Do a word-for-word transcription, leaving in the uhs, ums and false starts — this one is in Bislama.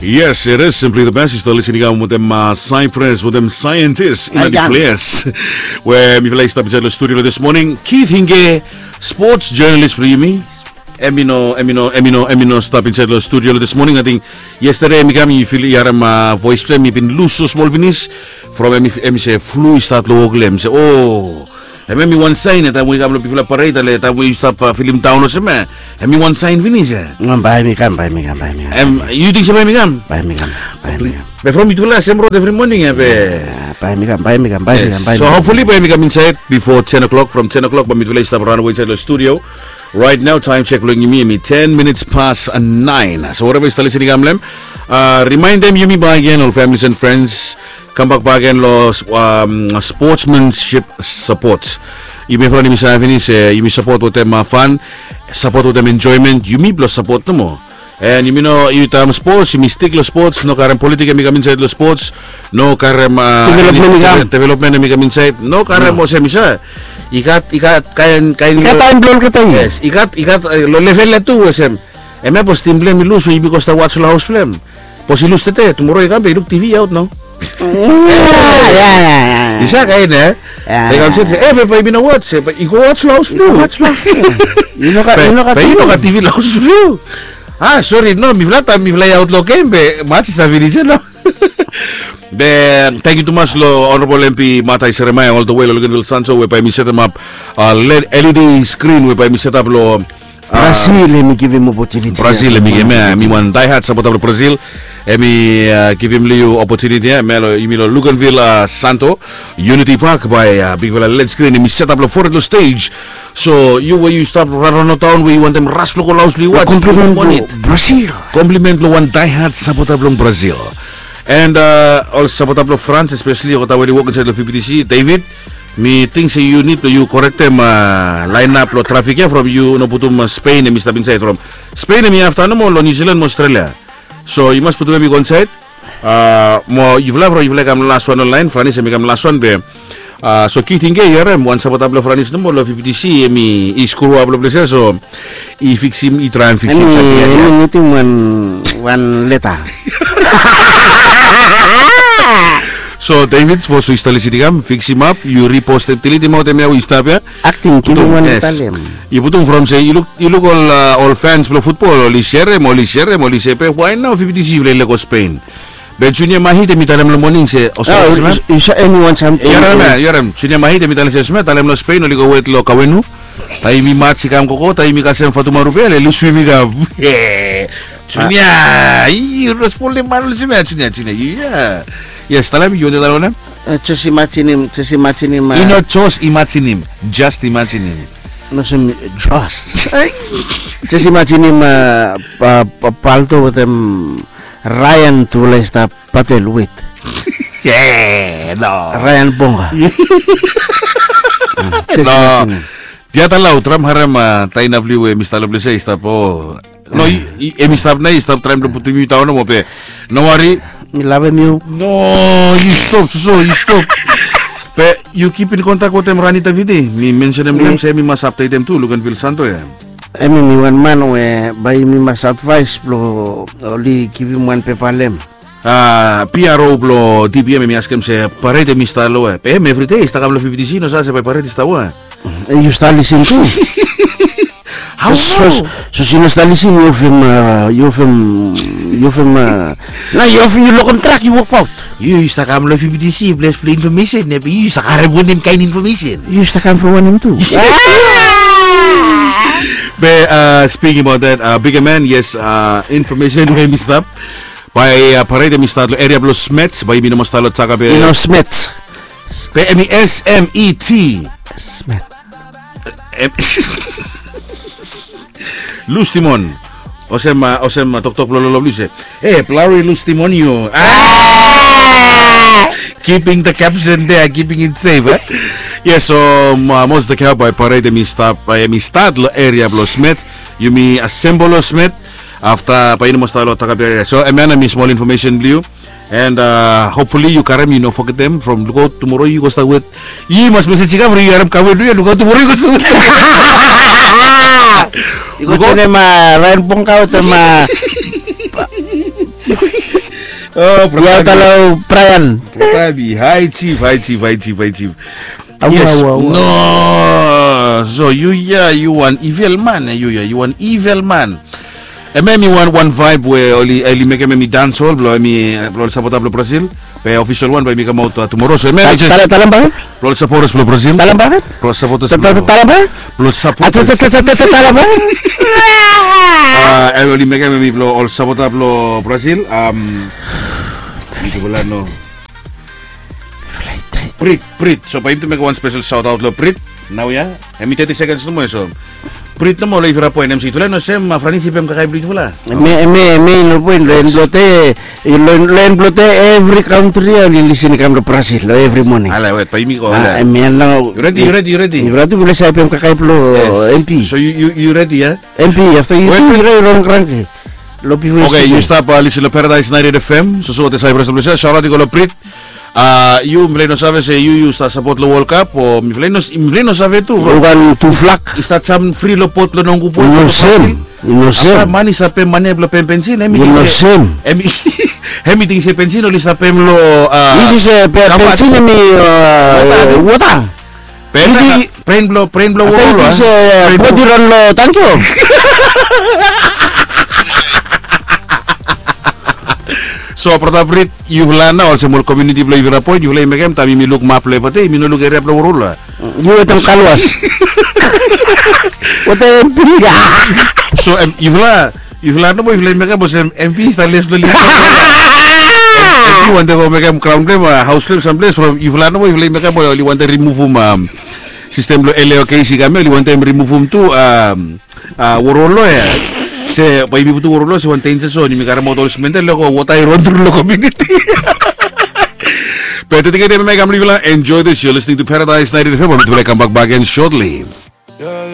Yes, it is simply the best. Yu stap listening out wetem Cyprus, wetem Scientist in the place. We mifala i stap insaed lo studio lo this morning. Keith Hinge, sports journalist blo yumi. Em i no, em i no, em i no, em i no stap insaed lo studio lo this morning. Ating yestede em i kam, yu fil, yu harem voes blo em, i bin lus so smol finis. From em i se flu i stat lo wok lo em, se o. Hemia hemi wan saen ia, taem we i kam lo bigfala pared, ale taem we yu stap filim daon olsem ia, hemi wan saen finis ia. Bae hemi kam, bae hemi kam, bae hemi kam. Yu ting se bae hemi kam? Bae hemi kam, bae hemi kam. Be from yutufala sem rod evri moning ia be. Bae hemi kam, bae hemi kam, bae hemi kam, bae hemi kam. So hopefully bae hemi kam insaed bifo ten o'clock, from ten o'clock bae mitufala i stap raon we insaed lo studio. Right now taem sek blong yumi hemi ten minutes past nine. So whatever yu stap listening kam lo em, rimaendem yumi bakegen ol families and friends, kambak bakegen lo sportsmanship support. Yumi evriwan yumi save finis se yumi sapot wetem fan, sapot wetem enjoyment, yumi blo sapot nomo. And yumi no, yu taem sports yumi stik lo sports, no karem politik hemi kam insaed lo sports. No karem development hemi kam insaed, no karem olsem i sa. I gat, i gat kaen, kaen, i gat taem blo olgeta ia. Yes, i gat, i gat lo level ia tu olsem. Hemia bos tim blo hem i lus, so yumi go stap was lo haos blo hem. Bos i lus tede, tumoro i kam be i luk TV aot nao. I sa kaen ia. Be i kam se, e be bae yumi no was, be i go was lo haos blo yu. Be i no gat TV lo haos blo yu. A sori no, mifala taem mifala i aot lo gem be mats i stap finis ia nao. Be tangkiu tumas lo Honorable MP Matai Seremaia all the way lo Luganville Sancho we bae hemi setemap LED screen we bae hemi setap lo Brazil, hemi givim opotuniti. Brazil hemi givim ia, hemi wan diehard sapota blo Brazil. Hemi givim lo yu opotuniti ia, hemia lo yumi lo Luganville Sancho, Unity Park bae bigfala LED screen hemi setap lo fored lo stage. So yu we yu stap raon lo taon we yu wantem ras lo go lo haos blo yu was, komplimen lo Brazil. Komplimen lo wan diehard sapota blong Brazil. And ol sapota blong France especially olgeta we oli wok insaed lo VPTC, David, mi ting se yu nid blo yu korektem laenap lo trafik ia from yu no putum Spain hemi stap insaed from Spain hemi afta nomo lo New Zealand mo Australia. So yu mas putum hem i go insaed. Mo yufala from yufala i kam laswan lo laen, Franis hemi kam laswan be. So Keith Hinge, yu harem, wan sapota blo Franis nomo lo VPTC hemi i skruap lo ples ia, so i fiksim, i traem fiksim. Hemi wetem wan, wan leta. So David, sapos yu stap listening kam, fiksimap, yu repost hem, deletem aot hemia we i stap ia. Akting, givim wan leta lo hem. Yu putum from se yu luk, yu luk ol, ol fans blo futbol oli serem, oli serem, oli se be why nao VPTC yufala i lego Spain. Be Junior Mahit hemi talem lo moning se olsem. Yu harem, yu harem, Junior Mahit hemi talem se olsem ia, talem lo Spain oli go wet lo Kawenu. Taem yumi mats i kam gogo, taem yumi kasem Fatumaru be ale oli swim i kam. Junior, yu no spolem man olsem ia Junior, Junior, yu ia. Yes, talem, yu wantem talem wanem? Jos imajinim, jos imajinim. I no jos imajinim, just imajinim. No olsem just. Jos imajinim Palto wetem Ryan tufala i stap patel wet. No. Ryan Bonga. Jos imajinim. Diata lau, traem harem taina blo yu we hemi stap lo ples ia i stap o. No, hemi stap nao, i stap traem blo putum yu daon nomo be. No wari. Mi lavem yu. No, yu stop, soso, yu stop. Be yu kip in kontak wetem Rani Taviti. Mi mensenem lo hem se hemi mas apdetem tu Luganville Sancho ia. Hemi wan man we bae yumi mas advaes blo oli givim wan pepa lo hem. PRO blo DPM hemi askem se pared hemi stap lo we. Be hem evridei i stap kam lo VPTC, no save se bae pared i stap we. Yu stap lisin tu. Hao so? Sapos yu no stap lisin, yu ofem, yu ofem, yu ofem. Nao yu ofem, yu lokem trak, yu wokbaot. Yu, yu stap kam lo VPTC ples blo infomesen ia be yu stap karem wanem kaen infomesen? Yu stap kam from wanem tu? Be speaking about that, bigger man, yes, infomesen we hemi stap. Bae pared hemi stat lo eria blo Smet, bae yumi no mas stat lo Takabe. Yu no Smet. Be hemi S M E T. Smet. Lus Timon. Olsem, olsem toktok blo lolo blo yu se, e blari Lus Timon yu. Keeping the caption there, keeping it safe. Yes, so most of the crowd bae pared hemi stap, bae hemi stat lo eria blo Smet. Yumi assemble lo Smet. Afta bae yu no mas stat lo Takabe eria. So hemia nao hemi smol infomesen blo yu. And hopefully yu karem, yu no fogetem from lukaot tumoro yu go stat wet. Yu mas mesej i kam from yu, harem kawenu ia, lukaot tumoro yu go stat wet. Yu go joenem Ryan Pongka wetem Oh, ya talo Brian. Brian, hi chief, hi chief, hi chief, hi chief. Yes. No. So yu ya yu wan evil man, eh, yu ya yu wan evil man. Em em i wan wan vibe we oli oli mekem em i dancehall blo em i blo ol sapota blo Brazil. Be official wan bae mi kamaot tumoro so em em i just. Tala tala bang. Blo ol supporters blo Brazil. Tala bang. Blo ol supporters blo. Tala bang. Blo ol supporters. Tala bang. Ah, em oli mekem em i blo ol sapota blo Brazil. Um, Brit, Brit. So bae yumi tu mekem wan special shout out lo Brit. Nao ya. Em i thirty seconds nomo ya so. Brit nomo lo ifera poen em si tufala no sem ma Franis i pem kakai blo tufala. Me me me no poen lo en blo te lo en blo te every country ya oli lisin i kam lo Brazil lo every morning. Ala wet bae yumi go. Em ya nao. You ready, you ready, you ready? Ifera tu blo sa i pem kakai blo M P. So you you you ready ya? M P after you tu ira i ron kranke. Lo pifo. Okay, yu stap lisin lo Paradise ninety-eight F M. So so te sa ifera blo sa shout out i go lo Brit. Ah, yu mifala i no save se yu yu stap sapot lo World Cup o mifala i no mifala i no save tu. Yu wan tu flak. I stap sam fri lo pot lo nongu pot. No sem. No sem. Mani stap pem mani blo pem pensin em i no sem. Em i em i ting se pensin oli stap pem lo ah. It is a pensin em i wota. Pren blo pren blo wol. Bodi ron lo tangkio. So brata Brit, yufala nao olsem ol komuniti blo yufala poen yufala i mekem taem yumi luk map blo evate yumi no luk eria blo wol. Yu wetem kalwas. Wetem piga. So em yufala yufala nomo yufala i mekem olsem M P i stap les blo li. M P i wantem go mekem graon blo em haos blo em samples from yufala nomo yufala i mekem oli wantem rimuvum sistem blo L A O K C kam ya oli wantem rimuvum tu. Worolo ya se bae yumi putum worolo se wan denja so yumi karemaot ol simen de loko wota i ron tru lo komuniti. Be tete kede mema i kam long yufala enjoy this, you're listening to Paradise ninety-eight F M. Bae mitufala i kambak bak again shortly.